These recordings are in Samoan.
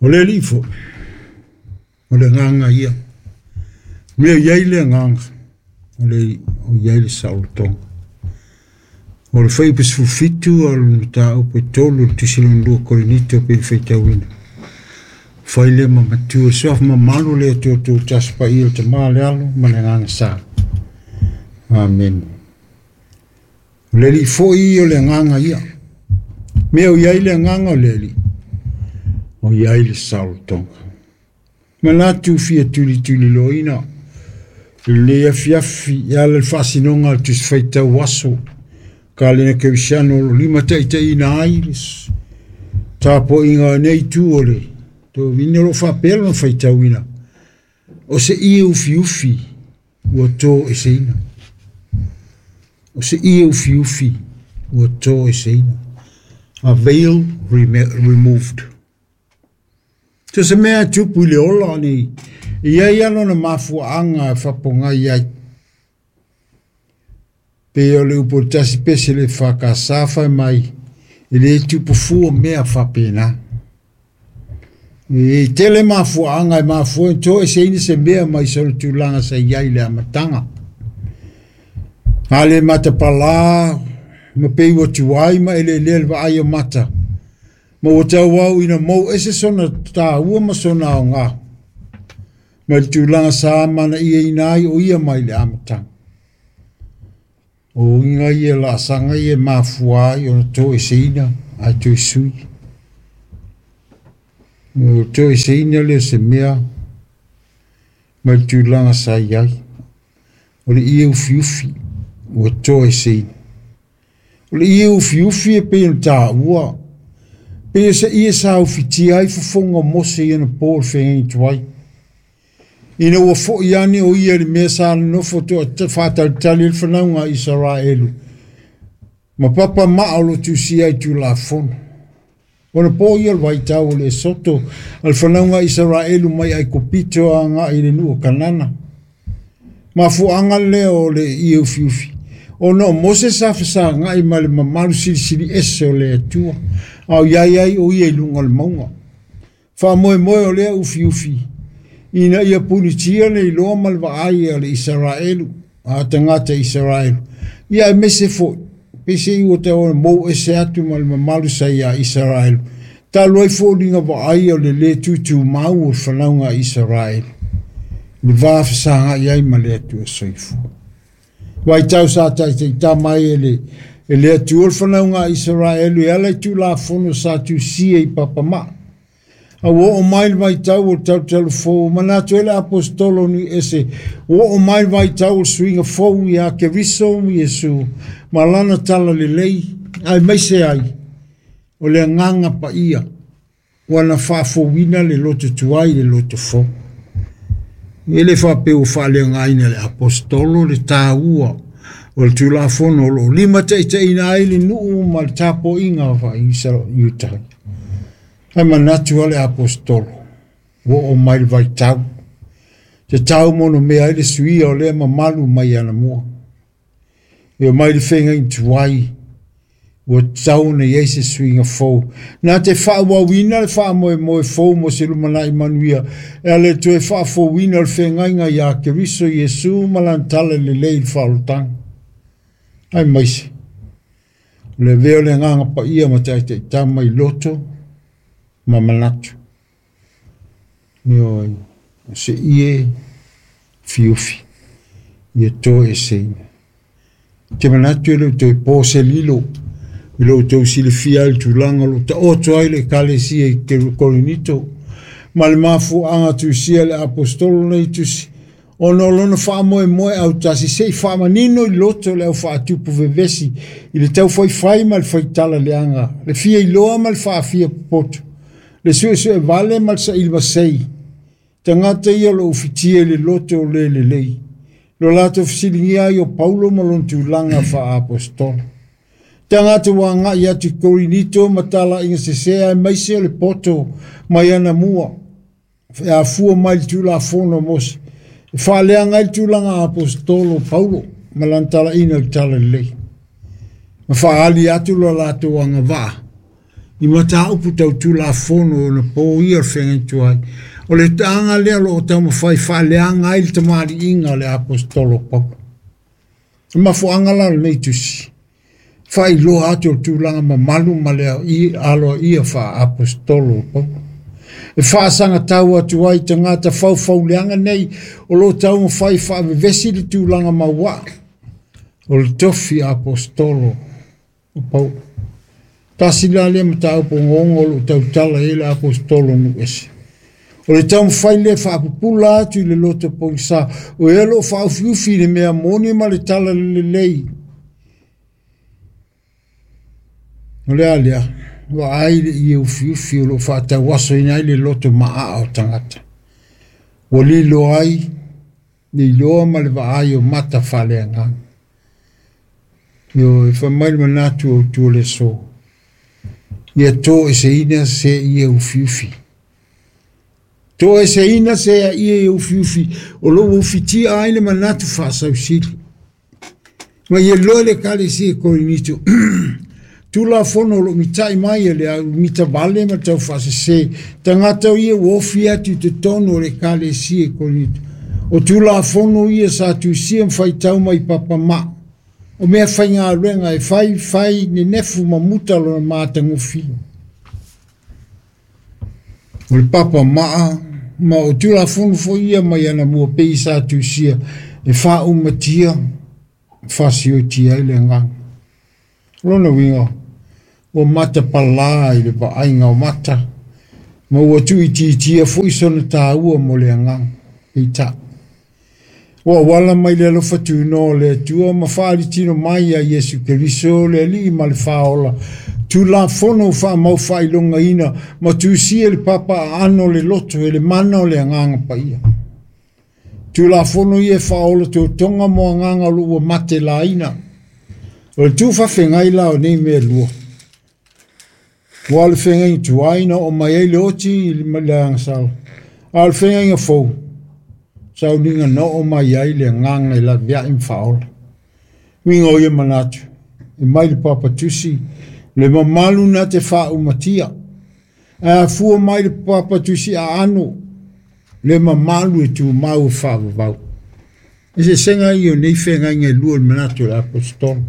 O le Alii foi, o le agaga ia. Mea i ai le agaga, o le o i ai le saolotoga. O le fuaiupu 17 o le mataupu e 3 o le tusi lona lua Korinito pei ona faitauina. Fai lea ma matua le suafa mamalu o le Atua Tuutasi Paia, le Tama, le Alo ma le Agaga Sa. Amene. O le Alii foi o le agaga ia. Mea o i ai le agaga o le Alii, o i ai le saolotoga. Manatu fia tulituliloaina i lenei afiafi e ala i le faasinoga a le Tusi Faitau Aso Kalena Kerisiano o lo o limataitaiina ai le tapuaiga a nei itu o le tovine o lo o faapea lona faitauina. O se ie ufiufi ua toeseina. O se ie ufiufi ua toeseina. A veil removed. So se mea e tupu i le ola nei, e i ai lava lona mafuaaga e faapogai ai. Pei o le upu o le tasi pese le FKS fai mai, e le tupu fua mea faapena. E tele mafuaaga e mafua ai toeseina se mea mai sona tulaga sa i ai i le amataga. A le matapalā ma pei ua tuai ma eleelea le vaai o mata, ma ua tauau ina mou ese sona taua ma sona aoga mai le tulaga sa amanaiaina ai o ia mai le amataga. O uiga ia laasaga ia e mafua ai ona toeseina ae toe sui. O toeseina lea o se mea mai le tulaga sa i ai. O le ie ufiufi ua toeseina. O le ie ufiufi e pei ona taua, pei o se ie sa ufitia ai fofoga o Mose i ana po o le feagaiga tuai. Ina ua foi ane o ia i le mea sa nonofo toa faatalitali ai le fanauga a Isaraelu, ma papa maa o lo o tusia ai Tulafono. Ona po ia o le vaitau o le Esoto a le fanauga a Isaraelu mai Aikupito agai i le nuu o Kanana. Mafuaaga lea o le ie ufiufi, ona o Mose sa fesagai ma le mamalu silisili ese o le Atua, a o i ai ai o ia i luga o le mauga. Faamoemoe o lea ufiufi, ina ia punitia le iloa ma le vaai a le Isaraelu, a tagata Isaraelu, ia aemaise foi, peiseai ua tau ona mou ese atu ma le mamalu sa iā Isaraelu, talu ai foliga vaaia o le lē tutumau o le fanauga a Isaraelu, i le va fesagai ai ma le Atua soifua. Vaitau sa taitaitama ai e le e le Atua le fanauga a Isaraelu e ala i Tulafono sa tusia i papamaa. A ua oo mai le vaitau o le talutalu fou, manatu ai le Aposetolo nui ese, ua oo mai le vaitau o le suiga fou iā Keriso Iesu ma lana talalelei, aemaise ai o le Agaga Paia ua na faafouina le loto tuai i le loto fou. E le faapea ua faaleaogaina e le Aposetolo le taua o le Tulafono o lo o limataitaiina ai le nuu ma le tapuaiga faa-Iuta. Ae manatu lava le Aposetolo, ua oo mai le vaitau, tatau monomea ai le suia o lea mamalu mai anamua. E omai le feagaiga tuai, ua tatau ona i ai se suiga fou. Na te faaauauina le faamoemoe fou mo se lumanai manuia e ala i le toe faafouina o le feagaiga iā Keriso Iesu ma lana talalelei i le faaolataga. Aemaise, o le avea o le Agaga Paia ma taitaitama i loto ma manatu. Ioe, o se ie fiufi ia toeseina. Ou te manatu e le o toe po se lilo i lo outou silafia ai le tulaga o lo o taoto ai le Ekalesia i Korinito ma le mafuaaga tusia e le Aposetolo nei tusi, ona o lona faamoemoe autasi se i faamanino i loto le au faatupu vevesi i le taufaifai ma le faitala leaga, le fia iloa ma le faafia popoto, le suesue vale ma le saili masei. Tagata ia o lo o ufitia i le loto o le lelei, lo latou fesiligia ai o Paulo ma lona tulaga faa-aposetolo. Tagata ua agai atu i Korinito ma talaiga sese aemaise o le poto mai anamua, e afua mai le Tulafono a Mose, e faaleaga ai le tulaga aposetolo o Paulo ma lana talaiina i le talalelei, ma faaali atu lo latou agavaa i mataupu tau Tulafono ona po ia o le feagaiga tuai. O le aga lea o lo o taumafai faaleaga ai le tamaliiga o le aposetolo o Paulo. O le mafuaaga la o lenei tusi, faailoa atu o le tulaga mamalu ma le aloaia faa-aposetolo o Paulo. E faasagatau atu ai tagata faufauleaga nei o lo o taumafai faavevesi le tulaga mauaa o le tofi aposetolo o Paulo. Tasi la lea mataupu ogaoga o lo o tautala i ai le aposetolo nuu ese. O le taumafai lea faapupula atu i le loto pogisa, o ea o lo o faaufiufi i le mea moni ma le tala lelei. O le a lea, vaai le ie ufiufi o lo o faatauasoina ai le loto maaa o tagata. Ua lilo ai le iloa ma le vaai o mata faaleagaga. Ioe, e fai mai le manatu o autu o le aso, ia toeseina se ie ufiufi. Toeseina se ie ufiufi o lo o ufitia ai le manatu faasausili. Ma ia loe le ekalesia i Korinito. Tulafono o lo o mitai mai e le au mitavale ma le taufaasese, tagata ia ua ofi atu i totonu o le ekalesia i Korinito. O Tulafono ia sa tusia ma faitau mai papamaa. O mea faigaluega e fai fai nenefu ma muta lona matagofie. O le papamaa ma o Tulafono foi ia mai anamua pei sa tusia e faaumatia faasiotia ai le agaga. O lona uiga, ua matapalā i le vaaiga o mata, ma ua tuuitiitia foi sona taua mo le agaga. Peitai, ua auala mai le alofa tunoa o le Atua ma faalitino mai ia Iesu Keriso le Alii ma le Faaola, Tulafono ua faamau faailogaina ma tusia i le papa aano o le loto e le mana o le Agaga Paia. Tulafono ia e faaola totoga mo agaga o lo o ua mate laina. O le tuufaafegai la o nei mea e lua, aua o le feagaiga tuai na oo mai ai le oti i le agasala, a o le feagaiga fou, sauniga na oo mai ai le agaga e laveai ma faaola. Uiga o ia manatu, e mai le papa tusi, le mamalu na te faaumatia, ae afua mai le papa tusi aano, le mamalu e tumau e faavavau. Eseesega ia o nei feagaiga e lua i le manatu o le aposetolo,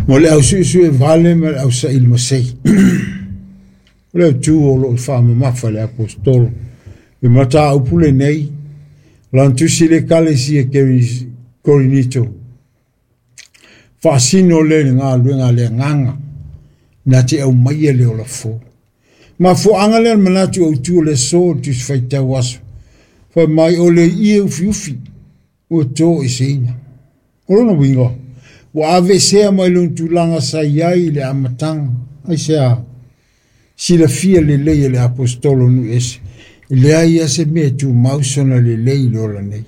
mo le ausuesue vale ma le ausaili masei. O le autu o lo o faamamafa e le aposetolo le mataupu lenei, lana tusi i le ekalesia Korinito, faasino lea i le galuega a le agaga na te aumaia le ola fou. Mafuaaga lea o le manatu autu o le aso o le Tusi Faitau Aso, fai mai o le ie ufiufi ua toeseina. O lona uiga, ua aveesea mai lona tulaga sa i ai i le amataga. Aisea? Silafia lelei e le aposetolo nuu ese, e leai lava se mea e tumau sona lelei i le ola nei.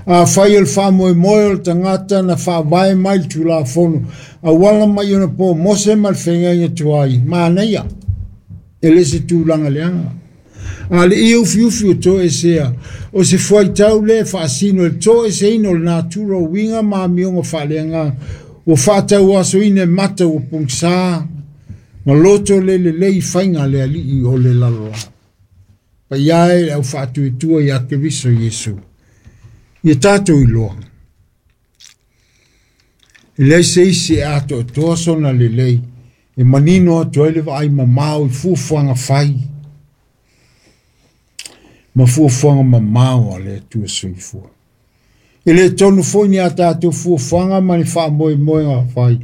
Afai o le faamoemoe o le tagata na faavae mai le Tulafono, auala mai ona po Mose ma le feagaiga tuai, manaia, e le se tulaga leaga. A le ie ufiufi o toesea, o se fuaitau lea e faasino i le toeseina o le natura o uiga ma amioga faaleagaga, ua faatauasoina e mata ua pogisa ma loto le lelei i faiga a le alii o le lalolagi. Paia e le au faatuatua ia Keriso Iesu, ia tatou iloa, e leai se isi e atoatoa sona lelei e manino atu ai le vaai mamao i fuafuaga fai ma fuafuaga mamao a le Atua soifua. E le tonu foi ni a tatou fuafuaga ma ni faamoemoega fai,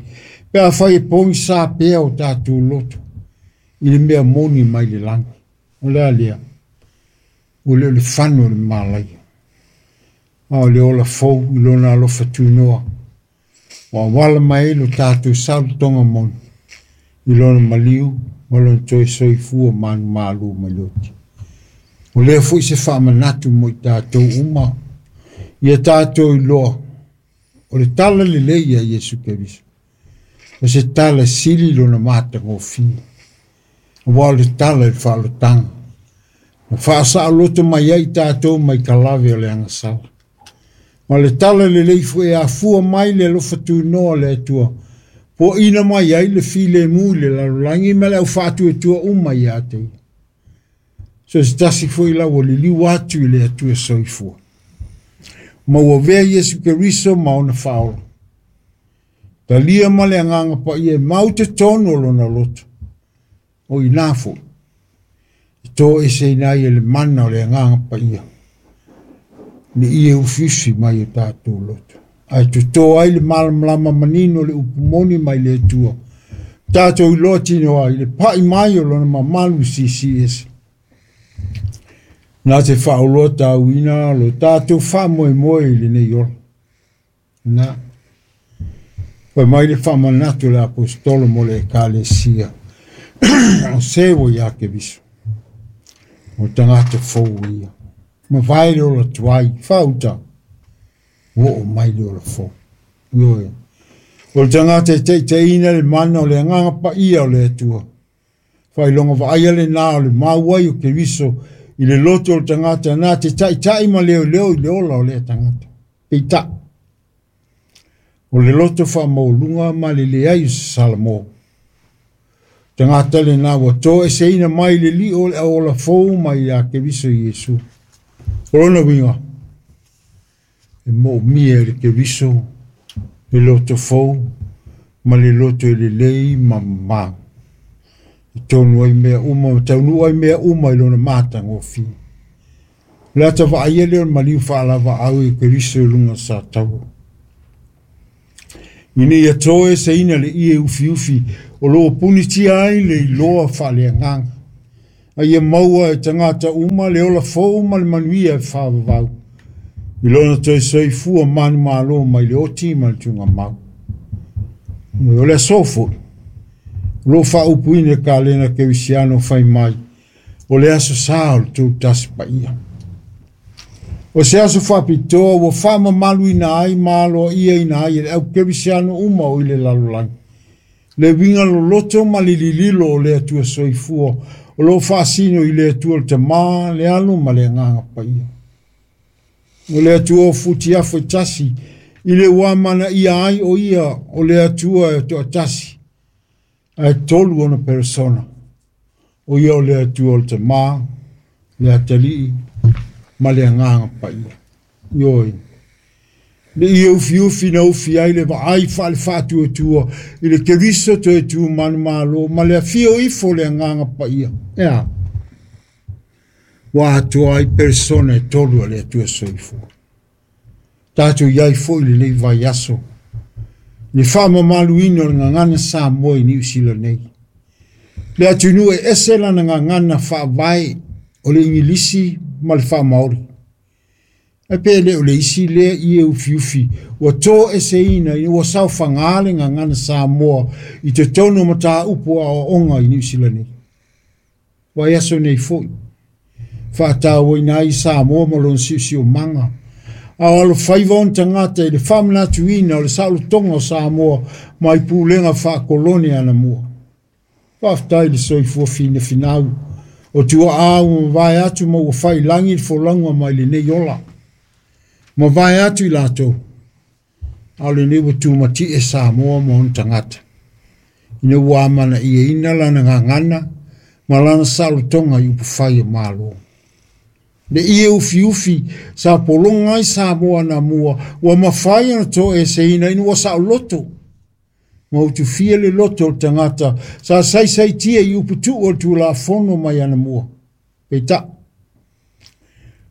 pe afai e pogisa pea o tatou loto i le mea moni mai le lagi. O le a lea? Ua le o le fano o le malaia, a o le ola fou i lona alofa tunoa, ua auala mai ai lo tatou saolotoga moni i lona maliu ma lona toe soifua malumalu mai le oti. O lea foi se faamanatu mo i tatou uma, ia tatou iloa o le tala lelei ia Iesu Keriso, o se tala sili lona matagofie, aua o le tala i le faaolotaga, na faasaoloto mai ai tatou mai kalave o le agasala. Ma le tala lelei foi e afua mai le alofa tunoa o le Atua, Puaina mai ai le filemu i le lalolagi ma le au faatuatua uma ia te ia. So se tasi foi la ua liliu atu i le Atua soifua. Ma ua avea Iesu Keriso ma ona faaola. Talia ma le agaga paia e mau totonu o lona loto. O ina foi, e toeseina ai e le mana o le agaga paia. Le ie ufiufi mai o tatou loto. Ae toto ai le malamalama manino le upu moni mai le Atua. Tatou iloa tino ai le pai mai o lona mamalu siisi ese. Na te faaoloa tauina lo tatou faamoemoe i lenei ola. Na fai mai le faamanatu le aposetolo mo le ekalesia. O se ua ia Keriso. O tagata fou ia. Ma vae le ola tuai, fauta. Ua oo mai le ola fou. Ioe. O le tagata e taitaiina le mana o le agaga paia o le Atua. Faailoga vaaia lena o le mau ai o Keriso i le loto o le tagata na te taitai ma leoleo i le ola o lea tagata. Peitai, o le loto faamaualuga ma le leai o se Salamo. Tagata lena ua toeseina mai le lio o le auola fou mai ia Keriso Iesu. O lona uiga, e moomia e le Keriso le loto fou ma le loto e lelei ma mamā. E tonu ai mea uma, ma taunuu ai mea uma i lona matagofie. O le ata vaaia lea o le maliu faalavaau i Keriso i luga o sa taua. Ina ia toeseina le ie ufiufi o loo punitia ai le iloa faaleagaga. A ia maua e tagata uma le ola fou ma le manuia e faavavau. I lona toe soifua manumalo mai le oti ma le tugamau. O le aso foi, o loo faaupuina le kalena kerisiano fai mai, o le aso sa o le tou tasi paia. O se aso faapitoa ua faamamaluina ai ma aloaiaina ai e le au kerisiano uma o i le lalolagi. Le uiga loloto ma le lililo o le Atua soifua, o loo faasino i le Atua le Tamā, le Alo ma le Agaga Paia. O le Atua o futiafu e tasi, i le ua amanaia ai o ia o le Atua e toatasi, ae tolu ona peresona. O ia o le Atua o le Tamā, le Atalii ma le Agaga Paia. Ioe. Le ie ufiufi na ufi ai le vaai faale faatuatua i le Keriso toe tu manumalo ma le afio ifo le Agaga Paia. Ea. Ua atoa ai persona e tolu a le Atua soifua. Tatou iai foi lenei vaiaso. Le faamamaluina o le gagana Samoa i Niu Sila nei. Le atunuu e ese lana gagana faavae o le Igilisi ma le Faamaori. Ae pe le o le isi lea ie ufiufi ua toeseina ina ua saofaga le gagana Samoa i totonu o mataupu aoaoga i Niu Sila nei. Vaiaso nei foi, faatauaina ai Samoa ma lona siosiomaga. A o alofaiva ona tagata i le faamanatuina o le saolotoga o Samoa mai pulega faakolone anamua. Faafetai le soifua finafinau o tuaa ua mavae atu ma ua failagi le folauga mai lenei ola. Mavae atu i latou, a o lenei ua tumatie Samoa ma ona tagata. Ina ua amanaiaina lana gagana ma lana saolotoga i upufai o Malo. Le ie ufiufi sa pologa ai Samoa anamua ua mafai ona toeseina ina ua saoloto. Ma utufia le loto o le tagata sa saisaitia i uputuu o le Tulafono mai anamua. Peitai,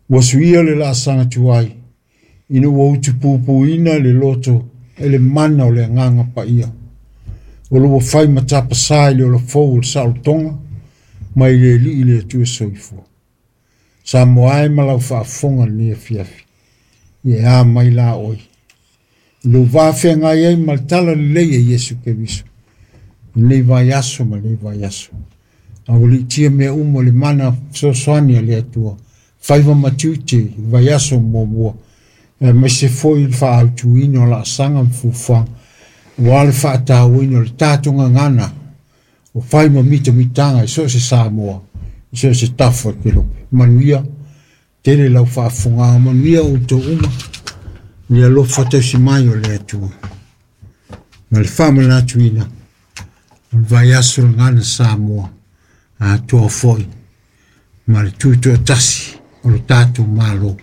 ua suia le laasaga tuai ina ua utupupuina le loto e le mana o le Agaga Paia. O lo ua fai ma tapasā i le ola fou o le saolotoga mai le Alii le Atua soifua. Samoa e ma lau faafofoga lenei afiafi. Ia e a mai la oe. I lou va feagai ai ma le tala lelei a Iesu Keriso. I lenei vaiaso ma lenei vaiaso. A ua liitia mea uma o le mana fesoasoani a le Atua. Faiva ma tiute i le vaiaso muamua. Aemaise foi le faaautuina o laasaga ma fuafuaga. Aua le faatauaina o le tatou gagana o fai ma mitamitaga i so o se Samoa, i so o se tafa o le kelope. Manuia tele lau faafofogaga, manuia outou uma, i le alofa tausi mai o le Atua. Ma le faamanatuina o le vaiaso lena Samoa atoa foi ma le tutoatasi o le tatou Malo.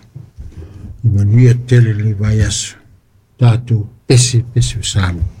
I manuia tele le vaiaso tatou pese pese o Samoa.